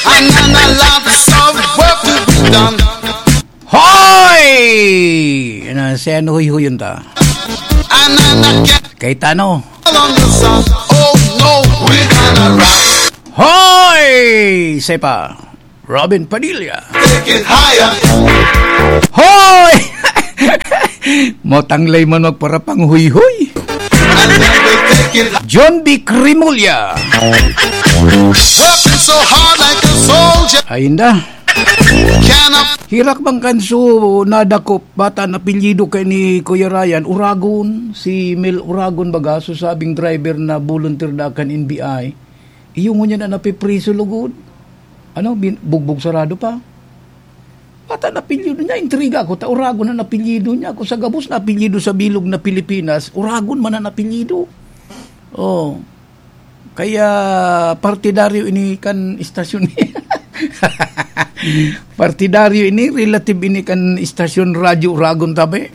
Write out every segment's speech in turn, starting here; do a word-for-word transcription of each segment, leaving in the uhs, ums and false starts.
And then a lots of work to be done. Hoy! Ano, si ano huyhuyon ta? And then I get Kay Tano. On the sun. Oh no, we're gonna rock. Hoy! Sepa. Robin Padilla. Take it higher. Hoy! Motanglay man magparapang huyhoy. And then we take it John B. Cremulya. Working so hard like a soldier. Ayun da. Can I Hirak bang kanso nadakop, bata na apelyido kay ni Kuya Ryan, Uragon, si Mel Uragon baga, so sabing driver na volunteer da kan N B I. Iyo ngunyan na napipriso lugod. Ano, bin-, bugbog sarado pa. Bata na apelyido niya, intriga ako, ta Uragon na apelyido niya. Kung sa gabos na apelyido sa bilog na Pilipinas, Uragon man ang apelyido. Oh. Kaya partidaryo ini kan istasyon. Partidaryo ini, relative ini kan istasyon Radyo Uragon tabi.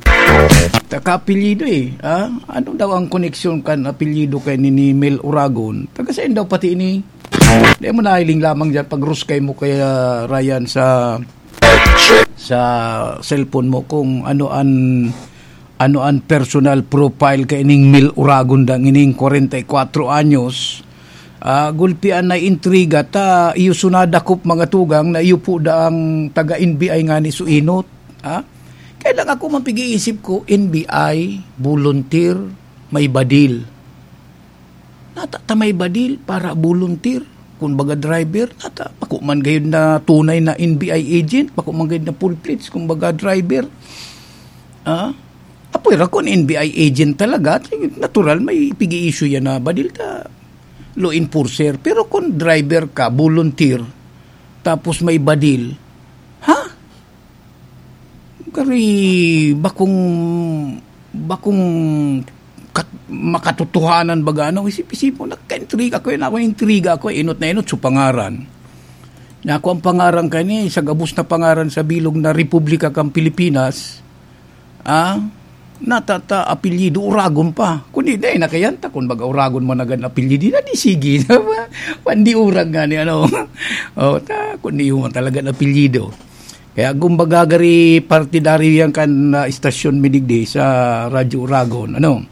Ta kaapelyido eh. Ah? Ano daw ang koneksyon kan apelyido kay ni, ni Mel Uragon? Taga saan daw pati ini? Di mo nahiling lamang dyan pag ruskay mo kaya Ryan sa sa cellphone mo kung ano an ano an personal profile kaining Mel Uragon dang ining kwarenta y kwatro anyos. Ah, gulpian na intriga ta iyo sunada kop mga tugang na iyo po daang taga N B I ngani so inot. Ah? Kaya lang ako mapig-iisip ko, N B I, volunteer, may badil. Nata ta may badil para volunteer, kun baga driver, nata bako man gayud na tunay na N B I agent, bako man gayud na full-fledged, kun baga driver. Ah? Apoy ra kun N B I agent talaga, natural may pig-i-issue yan na badil ta law enforcer. Pero kun driver ka, volunteer, tapos may badil, ha? Kari bakong, bakong kat-, makatotohanan baga, ano, isip-isip mo, nagka-intriga ko yun. Ako, intriga ko, inot na inot, so pangaran. Na ako ang pangaran kani, sa gabos na pangaran sa bilog na Republika kan Pilipinas, ah, natata apelyido, Uragon pa. Kundi, dai na kayan ta, kun baga Uragon man agad apelyido, na di sige. Pandi Urag nga ni, ano. Oh, ta, kundi yung talaga apelyido. Kaya kumbaga gari partidaryo yan kan, ah, istasyon mi digdi sa Radyo Uragon, ano?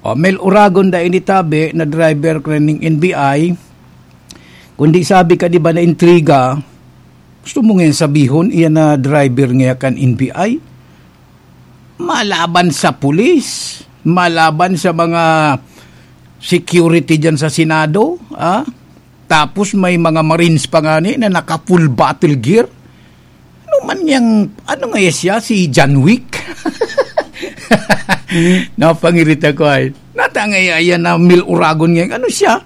O, Mel Uragon da ini tabi na driver ko ning N B I. Kundi sabi ka, di ba, na intriga, gusto mo ngayon sabihon, iyan na driver nga kan N B I? Malaban sa pulis, malaban sa mga security dyan sa Senado, ah? Tapos may mga Marines pa ngani na naka-full battle gear. Ano man yang, ano nga siya, si John Wick? Napangirit ako ay. Nata nga yan na Mil Uragon nga, ano siya?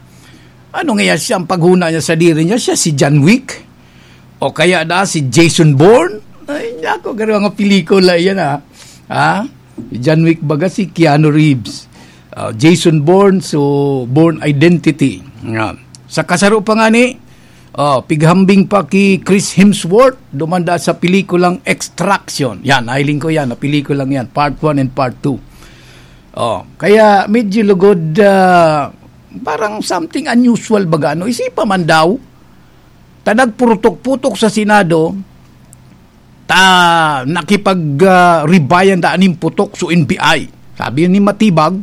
Ano nga siya, ang paghuna niya sa diri niya, siya si John Wick? O kaya na si Jason Bourne? Ay, ako, garo nga pelikula yan, ah. Ha? Si John Wick baga si Keanu Reeves. Ah, Jason Bourne, so Bourne Identity. Nga. Sa kasaro pa nga ni, oh, pighambing pa ki Chris Hemsworth, dumanda sa pelikulang Extraction. Yan, nahiling ko yan, na pelikulang yan, part one and part two. Oh, kaya medyo lugod, ah, parang something unusual baga, no? Isipa man daw, ta nagpurutok-putok sa Senado, ta nakipag, ah, ribayan ta aning putok so N B I. Sabi ni Matibag,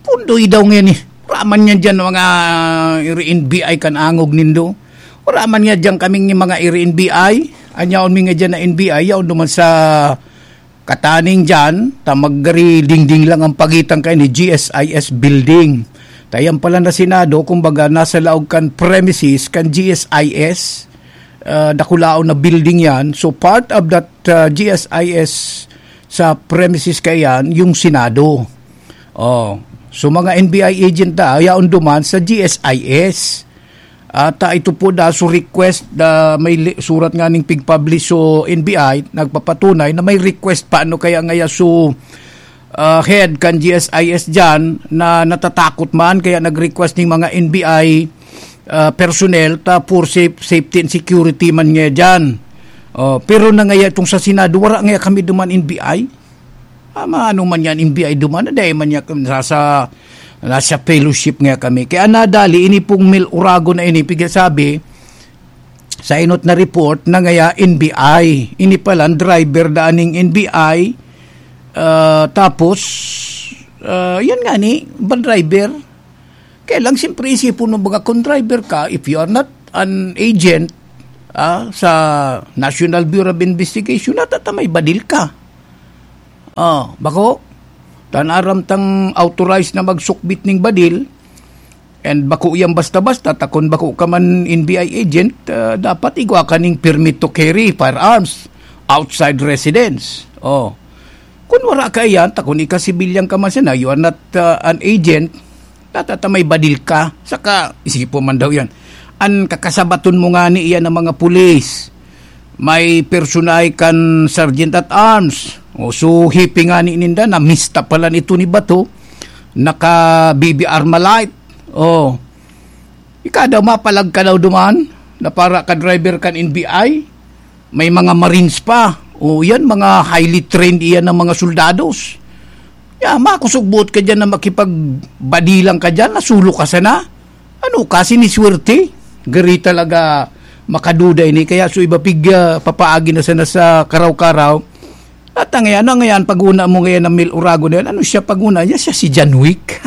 "Pundoy daw ngayon eh. Wala man niya dyan mga iri N B I kan angog nindo. Wala man niya dyan kaming mga iri N B I. Anyaon mi nga dyan na N B I, yaon naman sa kataning dyan, ta magari dingding lang ang pagitan kay ni G S I S building." Ta yan pala na Senado, kumbaga, nasa laog kan premises kan G S I S, ah, dakulaon na building yan. So, part of that, ah, G S I S sa premises kaya yan, yung Senado. Oh. So, mga N B I agent na, yaon duman sa G S I S. At, ah, ito po na, so request na may li-, surat nga ning pig-publish so N B I, nagpapatunay na may request pa, ano kaya ngaya so, ah, head kan G S I S dyan na natatakot man, kaya nag-request ning mga N B I, ah, personnel ta for safe, safety and security man nga dyan. Oh, pero na ngaya itong sa Senado, wala ngaya kami duman N B I. Ah, maano man yan, N B I duman, na dahil man yan, nasa, nasa fellowship nga kami. Kaya nadali, ini pong Mil Uragon na ini, pigsasabi, Sa inot na report na ngaya N B I, ini palan driver daan ning N B I, ah, tapos, ah, yan nga ni, van driver. Kaya lang, siyempre, isipon mo, baga, kung driver ka, if you are not an agent, ah, sa National Bureau of Investigation, natatamay badil ka. Ah, bako, tan aram tang authorized na magsukbit ning badil, and bako yan basta-basta, ta kun bako ka man N B I agent, ah, dapat igwa ka ning permit to carry firearms outside residence. Oh. Kun wala ka iyan, ta kun ika civilian ka man sana, you are not, ah, an agent, natatamay badil ka. Saka, isipon man daw yan. An kakasabaton mo nga ni iyan ng mga pulis, may personahe kan Sergeant at Arms. O, so, hipi nga ni ninda, na mista pala nito ni Bato, naka B B Armalite. O, ika daw, mapalag ka daw duman, na para ka driver kan N B I. May mga Marines pa. O, yan, mga highly trained iyan ng mga soldados. Ya, makusog buot ka dyan na makipagbadilang ka dyan, nasulo ka sana. Ano ka, siniswerte? Gari talaga makaduda ini. Kaya so iba pig, ah, papaagi na sana sa karaw-karaw. At ang ngayon, ano ngayon, pag-una mo ngayon ng Mil Urago na yan, ano siya pag-una niya? Siya si John Wick.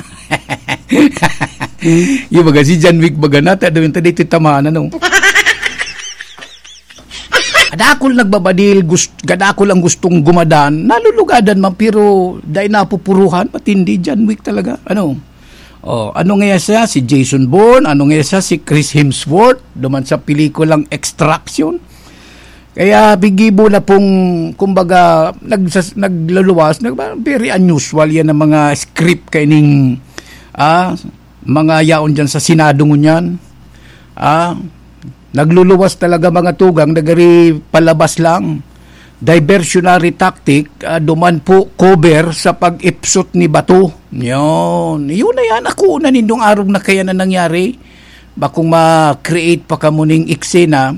Yung baga, si John Wick baga na, ta-, dito, dito tamaan, ano? Kadakol nagbabadil, gust-, kadakol ang gustong gumadan, nalulugadan man, pero dahil napupuruhan, matindi, John Wick talaga. Ano? Oh, ano nga siya? Si Jason Bourne? Ano nga siya? Si Chris Hemsworth? Duman sa pelikulang Extraction? Kaya bigibo na pong, kumbaga, nagsas-, nagluluwas, nag-, very unusual yan ang mga script kaining, ah, mga yaon dyan sa Senado ngunyan. Ah, nagluluwas talaga mga tugang, nagari palabas lang. Diversionary tactic, ah, duman po cover sa pag-ipsot ni Bato. Yun. Yun na yan. Ako na nindong arog na kaya na nangyari. Bakong ma-create pa kamo ning eksena,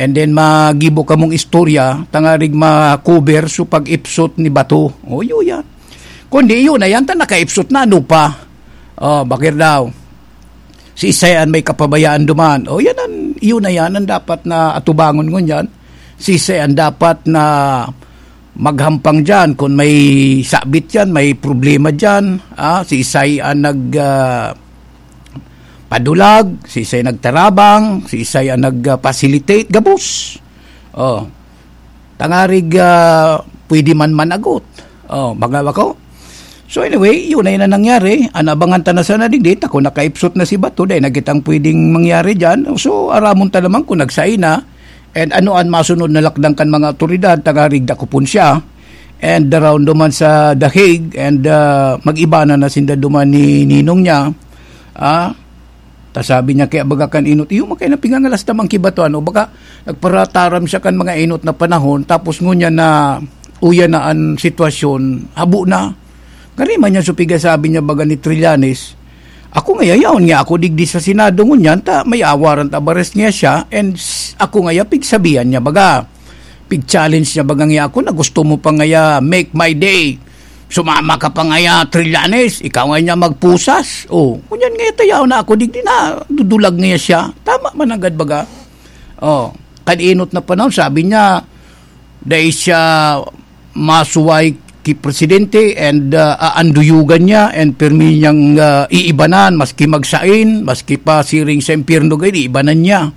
and then magibo kamong istorya, tangarig ma-cover so pag-ipsot ni Bato. O, yun yan. Kundi yun na yan, ta nakaipsot na, ano pa? O, bakit daw? Si Isay an may kapabayaan duman. O, yan an, yun na yan ang dapat na atubangon ngunyan. Si Isay an dapat na maghampang diyan kun may sabit diyan, may problema diyan. Ah, si Isay an nag, ah, padulag, si Isay nagtarabang, si Isay an nag, ah, facilitate, gabos. O. Tangarig, ah, pwede man managot. O, baga ba ko? So anyway, yun na yun ang nangyari. An abangan ta na sana digdi, ta kun nakaipsot na si Bato, dai na kitang pwedeng mangyari diyan. So, aramon ta naman kun nagsain na. And ano an masunod na lakdang kan mga awtoridad, tangarig dakopon siya. And around duman sa The Hague, and, ah, mag-iba na na sinda duman ni ninong niya. Ah, ta sabi niya, kaya baga kan inot, iyo, makaya na pingangalas naman ki Bato, ano, baga, nagparataram siya kan mga inot na panahon, tapos ngunyan na uya na an sitwasyon, habo na. Gari man niya supiga sabi niya baga ni Trillanes, ako nga yayaon nga ako digdi sa Senado ngunyan, ta may warrant of arrest niya siya, and s-, ako nga ya pigsabihan niya baga, pig-challenge niya baga nga ako, na gusto mo pa nga ya make my day. Sumama ka pa nga ya, Trillanes, ikaw nga niya magpusas. O, ngunyan nga tayaw na ako, digdi na, dudulag nga siya. Tama man agad baga. O, kan inot na panahon, sabi niya, dai siya masuway ki presidente and, ah, aanduyugan niya and pirmi niyang, ah, iibanan, maski magsain, maski pa siring sa impyerno, gay, iibanan niya.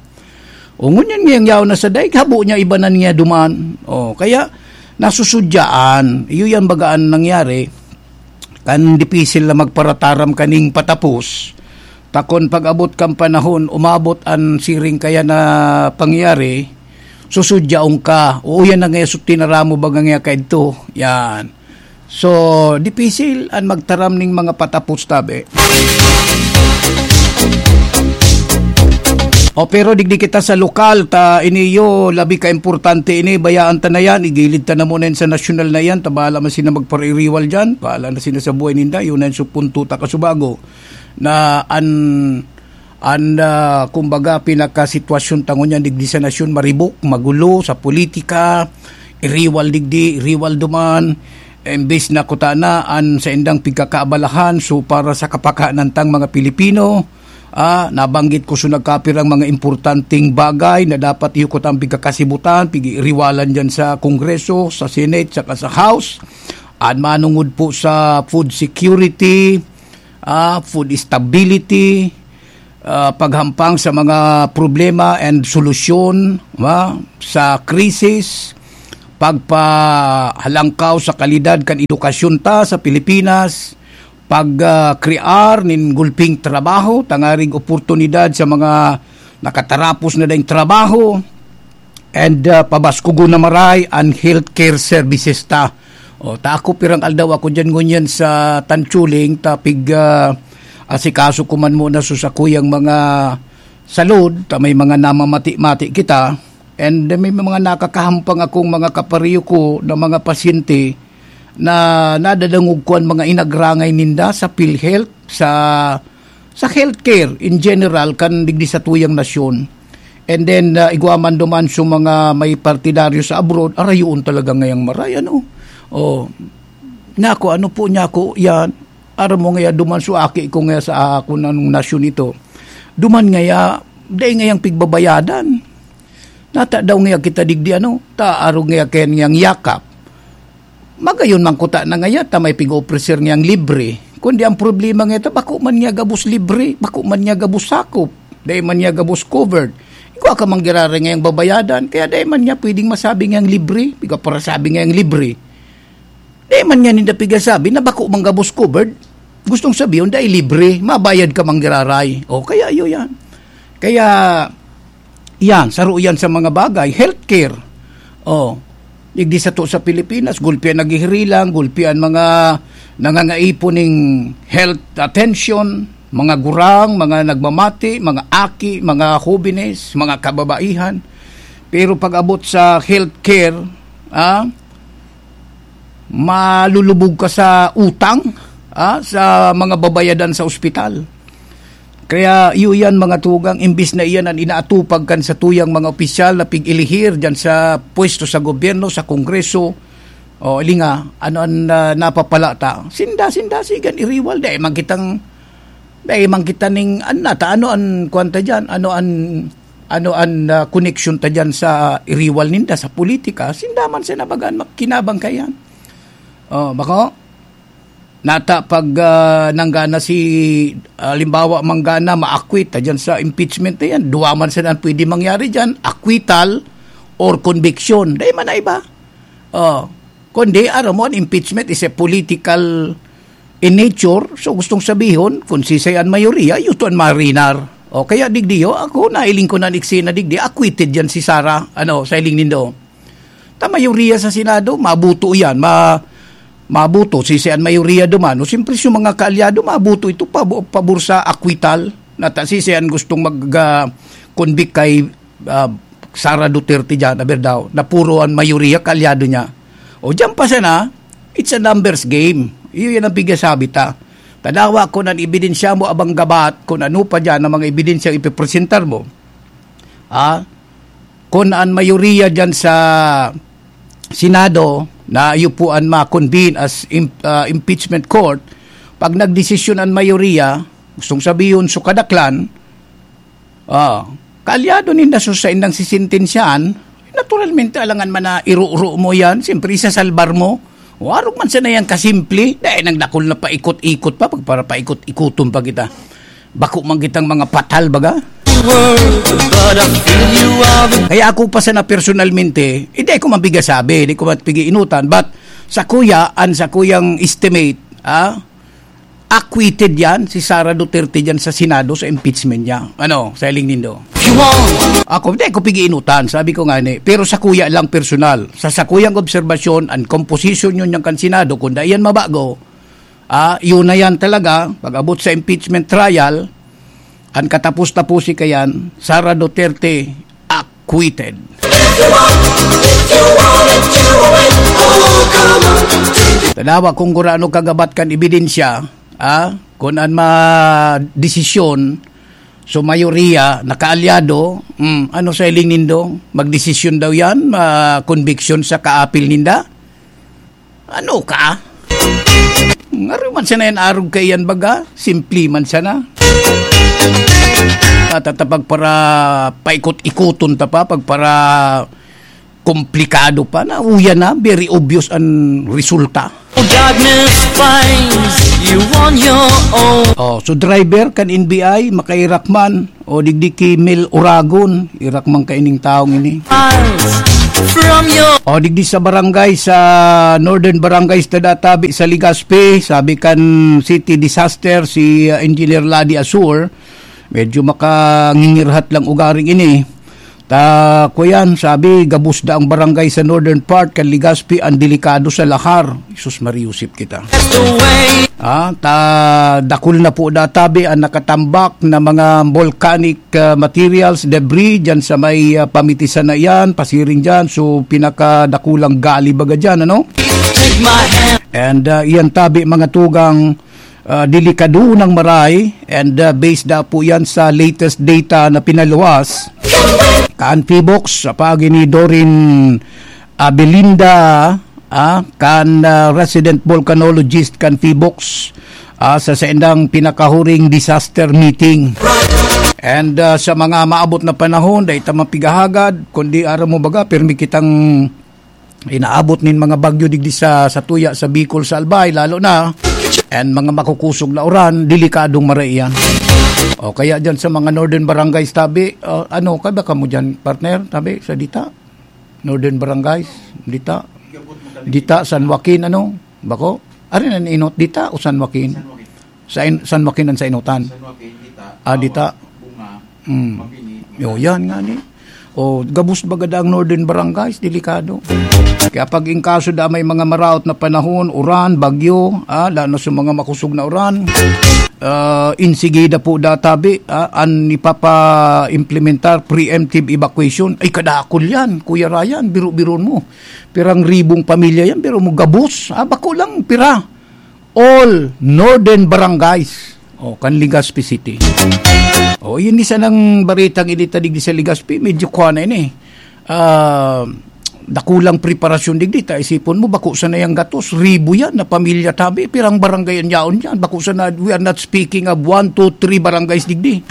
O, ngunyan ngayang yaon na sa daig, habo niya ibanan niya duman. O, kaya, nasusudyaan. Iyo yan baga an nangyari. Kan dipisil na magparataram kaning patapos. Takon pag-abot kan panahon, umabot an siring kaya na pangyayari, susudyaon ka. O, yan na nga, so tinaramo baga nga kaidto. Yan. So, dipisil an magtaram ning mga patapos tabi. O, pero digdi kita sa lokal, ta iniyo, labi ka importante ini, bayaan ta na yan, igilid ta na muna yan sa nasyonal na yan, ta bahala man sila magpaririwal dyan, bahala na sila sa buhay ninda, yun na yung supunto ta kasubago, na an, an, ah, kumbaga, pinakasitwasyon tangon yan, digdi sa nasyon, maribok, magulo, sa politika, iriwal digdi, iriwal duman, imbes na kutana an saindang pigkakaabalahan, so para sa kapakanan tang mga Pilipino, Ah, nabanggit ko so nagkapirang mga importanteng bagay na dapat iyo ko tang pigkakasibutan, pigiriwalan diyan sa Kongreso, sa Senate, saka sa House. An manungod po sa food security, ah, food stability, ah, paghampang sa mga problema and solusyon, ah, sa krisis, pagpahalangkaw sa kalidad kan edukasyon ta sa Pilipinas, pag, ah, krear nin gulping trabaho, tangarig oportunidad sa mga nakatarapos na daing trabaho, and, ah, pabaskugon na maray an healthcare services ta. O, ta ako pirang aldaw ako diyan ngunyan sa Tanchuling, ta pig, ah, asikaso ko man muna sa sakuyang mga salud, ta may mga namamati-mati kita, and may mga nakakahampang akong mga kapareho ko na mga pasyente na nadadangog ko an mga inagrangay ninda sa PhilHealth, sa, sa healthcare in general, kan digdi sa tuyang nasyon. And then, ah, igwa man duman sa mga may partidaryo sa abroad, arayoon talaga ngayang maray, ano? O, nako, ano po niya ako, yan, aram mo ngaya duman sa aki ko ngaya sa ako ng nasyon ito. Duman ngaya, dai ngayang pigbabayadan. Nata daw ngaya kita digdi, ano, ta arog ngaya kaya niyang yakap. Magayon man kuta na ngaya ta may pig-ofrecer niyang libre. Kundi ang problema ngaya ta, bako man niya gabos libre, bako man niya gabos sakop, dai man niya gabos covered. Igwa ka man giraray ngayang babayadan, kaya dai man niya pwedeng masabi ngayang libre, igwa para sabi ngayang libre. Dai man niya ninda pigasabi na bako man gabos covered. Gustong sabihon, dai libre, mabayad ka man giraray. O, kaya iyo yan. Kaya, yan, saro yan sa mga bagay. Healthcare. O, digdi sato sa Pilipinas, gulpi an naghihirilang, gulpi an mga nangangaipo ning health attention, mga gurang, mga nagmamati, mga aki, mga hobenes, mga kababaihan. Pero pag-abot sa healthcare, ah, malulubog ka sa utang, ah, sa mga babayadan sa ospital. Kaya iyo yan, mga tugang, imbis na iyan an inaatupag kan satuyang mga opisyal na pig-ilihir diyan sa pwesto sa gobyerno, sa Kongreso, o, ilinga, ano an, ah, napapala ta? Sinda, sinda, sigan, iriwal, dai man kitang, dai man kita ning, ano ta, ano an, kwan ta diyan, ano an, ano an, ah, koneksyon ta diyan sa iriwal ninda sa politika? Sinda man sa nabagaan, makinabang kaiyan. O, bako? Nata pag, ah, nanggana si, halimbawa, manggana, ma-acquit ta diyan sa impeachment na yan. Duwa man sana an pwede mangyari diyan, acquittal or conviction. Dai man na iba. O, kundi, aram mo, an impeachment is a political in nature. So, gustong sabihon, kung sisay an mayoriya, iyo to an marinar. O, kaya digdi, o, ako, nailing ko na an eksena digdi, acquitted yan si Sara, ano, sa iling nindo. Ta mayoriya sa Senado, mabuto yan, ma-, mabuto, sisay an mayoriya duman. O, siyempre, sa mga kaalyado, mabuto ito, pabo-, pabor sa acquittal. Nata, sisay an gustong mag, ah, convict kay, ah, Sara Duterte dyan, aber daw, na puro an mayoriya kaalyado niya. O, dyan pa sana, it's a numbers game. Iyo yan ang pigasabi ta. Tadawa ko nan ebidensya mo abang gabat, kung ano pa dyan ang mga ebidensya ipipresentar mo. Ah, kung an mayoriya dyan sa Senado na iyo po an ma-convene as im-, ah, impeachment court, pag nagdesisyon an mayoriya, gustong sabihon, so kadaklan, ah, kaalyado ninda so saindang sisentensyahan, naturalmente, alangan man na iruro mo yan, siyempre, isasalbar mo. O, arog man sana yan kasimple, dahil nagdakol na paikot-ikot pa, pag para paikot-ikoton pa kita. Bako man kitang mga patal, baga? Kaya ako pa sana personalmente, hindi ko mabigasabi, hindi ko mapigiinutan, but sa kuya, an sa kuyang estimate, ah, acquitted yan, si Sara Duterte dyan sa Senado sa impeachment niya. Ano, sa hiling nindo? Ako, hindi ko pigiinutan, sabi ko nga ni. Pero sa kuya lang personal. Sa sakuyang obserbasyon, an komposisyon yun niyang kan Senado, kung dai yan mabago, ah, yun na yan talaga, pag-abot sa impeachment trial, an katapos-taposi kayan, Sara Duterte acquitted. Tanawa kung gurano kagabat kan ebidensya, ah, kung an ma-, desisyon, so mayoriya, nakaalyado, mm, ano sa hiling nindo? Magdesisyon daw yan, ma-, conviction sa kaapil ninda? Ano ka? Ngaro man sana yan arog kaiyan baga, simple man sana. At, at pagpara paikot-ikoton ta pa, pagpara komplikado pa, na uya na, very obvious ang resulta. Darkness finds you on your own. Oh, so driver kan N B I, makairak man, o digdi ki Mel Uragon, irak man kaining taong ini. Eyes from your O digdi sa barangay, sa Northern Barangay, sa Databi, sa Legazpi, sabi kan City Disaster, si, uh, Engineer Ladi Asur, medyo makangingirhat lang ugaring ini. Ta, kuyan, sabi, gabos da ang barangay sa northern part kan Legazpi, ang delikado sa lahar. Jesus Maria, Yusip kita. That's the way. Ah, ta, dakul na po databi ang nakatambak na mga volcanic, ah, materials, debris, dyan sa may, ah, pamitisan na iyan, pasiring dyan. So, pinakadakulang gali baga dyan, ano? Take my hand. And, ah, iyan tabi, mga tugang, ah, delikado ng maray, and, ah, based da po yan sa latest data na pinaluwas kan Phivolcs, sa pagi ni Doreen Abelinda, ah, kan, ah, resident volcanologist kan Phivolcs, ah, sa saindang pinakahuring disaster meeting. And, ah, sa mga maabot na panahon, dai ta mapigahagad, kundi aram mo baga, pirmi kitang inaabot nin mga bagyo digdi sa, sa tuya, sa Bicol, sa Albay, lalo na, and mga makukusog na uran, delikadong maray iyan. O kaya dyan sa mga northern barangays tabi, uh, ano, kaya ka mo dyan, partner, tabi, sa Dita? Northern barangays, Dita? Dita, San Joaquin, ano? Bako? Ari na inot, Dita o San Joaquin? San Joaquin. Sa in-, San Joaquin ang sa inutan? San Joaquin, Dita, Ah, Dita. Tawa, Bunga, Mm. Mabini, Yo, yan nga ni. O, gabos baga daang northern barangays, delikado. Kaya pag in kaso da may mga maraot na panahon, uran, bagyo, ah, lalo sa mga makusog na uran, ah, insigida po databi, ah, an ipapa-implementar preemptive evacuation. Ay, kadakul yan, Kuya Ryan, biro-biron mo. Pirang ribong pamilya yan, pero mo gabos, ah, bako lang pira. All northern barangays. O, kan Legazpi City. O, yun isa ng baritang initadig sa Legazpi, medyo kwa na ini. Ah, dakulang preparasyon digdi, ta isipon mo, bako sana yang gatos, ribo yan na pamilya tabi, pirang barangay ang yaon yan. Bako sana, we are not speaking of one, two, three barangays digdi.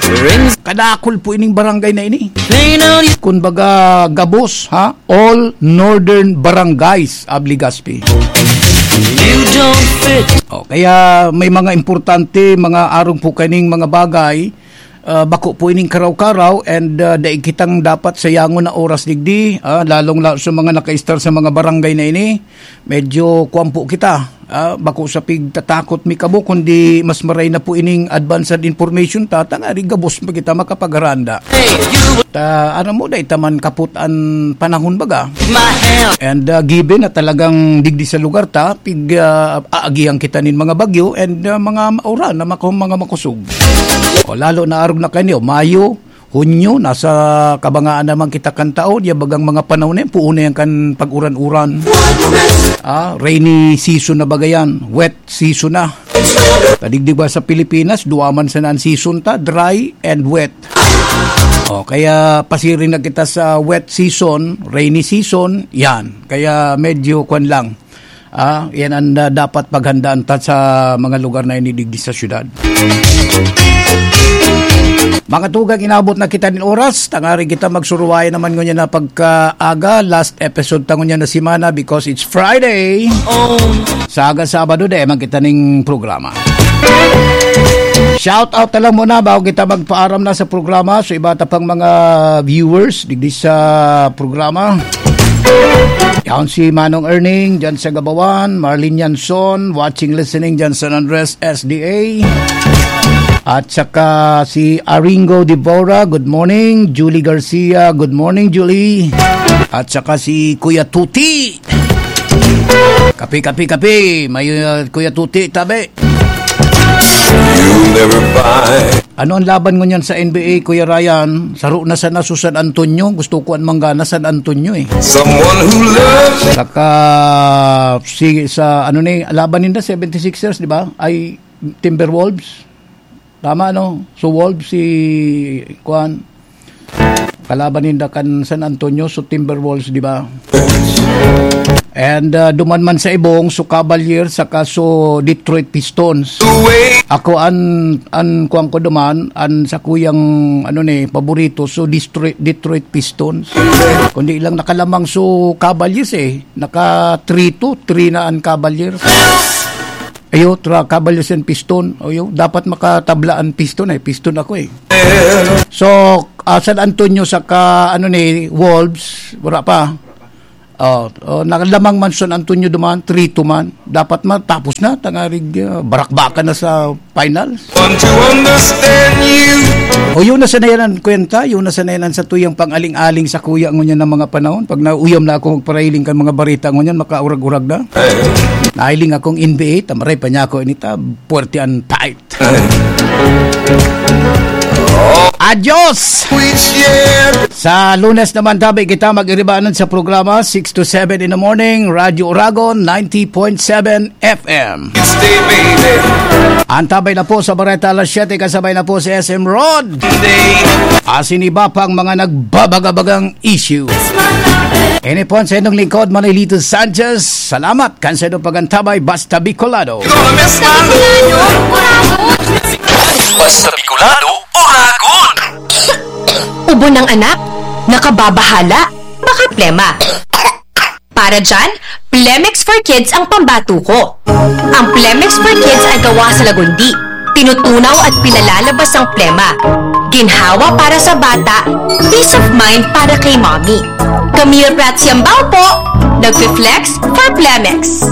Kadakul po ining barangay na ini. Plain on you. Kun baga, gabos, ha? All northern barangays of Legazpi. You don't fit. O, kaya may mga importante, mga arog po kaning mga bagay, ah, bako po ining karaw-karaw, and, ah, daig kitang dapat sayangon na oras digdi, ah, lalong-lalo sa mga nakaistar sa mga barangay na ini. Medyo kuwan po kita, ah, bako sa pigtatakot mi kamo, kundi mas maray na po ining advanced information ta, tangari gabos pa kita makapaghanda. Hey, you Ta, ano mo, dai ta man kapot an panahon baga. My hand. And, ah, given na talagang digdi sa lugar ta, pig, ah, aagihan kita nin mga bagyo and, ah, mga mauran na mako-, mga makusog. O, lalo na arog na kaini, Mayo, Hunyo, nasa kabangaan naman kita kan taon, ya bagang mga panahon na yan, puon na yan kan pag-uran-uran. Ah, rainy season na baga yan, wet season na. Kadigdig ba sa Pilipinas, duwa man sana an season ta, dry and wet. O, kaya pasiring na kita sa wet season, rainy season, yan. Kaya medyo kwan lang. Ah, yan ang, ah, dapat paghandaan ta sa mga lugar na inidigdi sa syudad. Mga tugang, inabot na kita nin oras. Tangari kita magsuruwayan naman ngunyan na pagkaaga. Last episode ta ngunyan na semana because it's Friday. Oh. Sa aga Sabado, di man kita ning programa. Shout out na lang muna bago kita magpaaram na sa programa. So, iba ta pang mga viewers digdi sa programa. Yan si Manong Erning, dyan sa Gabawan. Marlene Yanson, watching, listening, dyan sa San Andres, S D A. At saka si Aringo Devora, good morning. Julie Garcia, good morning, Julie. At saka si Kuya Tuti. Kape, kape, kape. May, uh, Kuya Tuti, tabi. You never buy. Ano ang laban ngunyan sa N B A, Kuya Ryan? Saro na sana sa San Antonio. Gusto ko ang manggana San Antonio, eh. Someone who loves. Saka, si, sa, ano ni, laban ninda, seventy-sixers, di ba? Ay, Timberwolves. Tama, no? So, Wolves, si, kuan, kalaban ninda kan San Antonio, so Timberwolves, di ba? And, ah, duman man sa ibong, so Cavaliers, saka so Detroit Pistons. Ako an, an kuwan ko duman, an sakuyang, ano ni, paborito, so Detroit, Detroit Pistons. Kundi lang nakalamang so Cavaliers eh. Naka three two, three na an Cavaliers. Ayo, tra, Cavaliers and Piston. Ayo, dapat makatabla an Piston eh. Piston ako eh. So, ah, San Antonio saka, ano ni, Wolves, wala pa. Oh, oh, nakalamang man San Antonio duman, three two man. Dapat matapos na, tangarig, ah, barakbakan na sa finals. Want to understand you. O, yun na sana yan ang kwenta, yun na sana yan ang satuyang pang-aling-aling sa kuya ngunyan ng mga panahon. Pag nauyam na ako magparailing kan mga barita ngunyan, makaurag-urag na. Nailing akong N B A, tamaray pa niya ako inita, puwerte ang tight. Adios! Which year? Sa Lunes naman, tabi kita mag-iribanan sa programa, six to seven in the morning, Radyo Oragon, ninety point seven F M. Stay, baby. Antabay na po sa Bareta alas siyete, kasabay na po si S M Rod. Stay. Asin iba pang mga nagbabagabagang issue. Ini po ang sa inyong lingkod, Manolito Sanchez. Salamat kan sa inyong pagantabay, Basta Bicolano. Gonna miss my Basta Bicolano, Oragon! Ubo ng anak? Nakababahala? Baka plema. Para dyan, Plemex for Kids ang pambato ko. Ang Plemex for Kids ay gawa sa lagundi. Tinutunaw at pinalalabas ang plema. Ginhawa para sa bata, peace of mind para kay mommy. Camille Prats Yambao po, nagfi-flex for Plemex.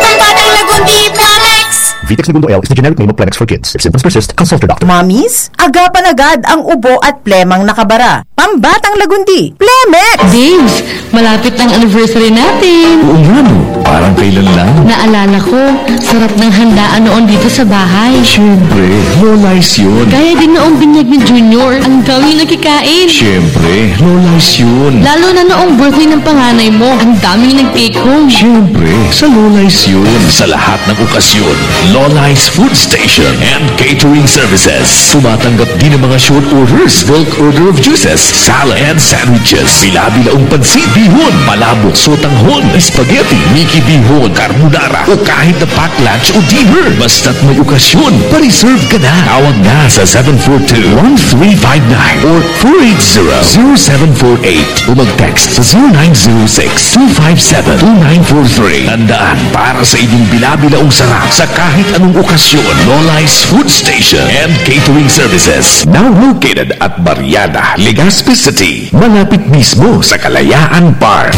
Pambatang lagundi, Plemex! Vitex Negundo L is the generic name of Plemex for Kids. If symptoms persist, consult your doctor. Mommies, agapan agad ang ubo at plemang nakabara. Pambatang lagundi, Plemex! Babes, malapit na ang anniversary natin. Oo nga, no? Parang kailan lang. Naalala ko, sarap ng handaan noon dito sa bahay. Siyempre, Lola's yun. Gaya din noong binyag ni Junior. Ang daming nakikain. Siyempre, Lola's yun. Lalo na noong birthday ng panganay mo. Ang daming nag-take home. Siyempre, sa Lola's yun. Sa lahat ng okasyon, Lola's Food Station and Catering Services. Tumatanggap din ng mga short orders, bulk order of juices, salad, and sandwiches. Bila-bilaong pansit, bihon, palabok, sotanghon, spaghetti, miki bihon, carbonara, o kahit na pack lunch o dinner. Basta't may okasyon, pa-reserve ka na. Tawag na sa seven four two, one three five nine or four eight zero, zero seven four eight o mag-text sa zero nine zero six, two five seven, two nine four three. Tandaan, para sa inyong bila-bilaong sarap sa kahit anong okasyon, Lola's Food Station and Catering Services. Now located at Barriada, Legazpi City, malapit mismo sa Kalayaan Park.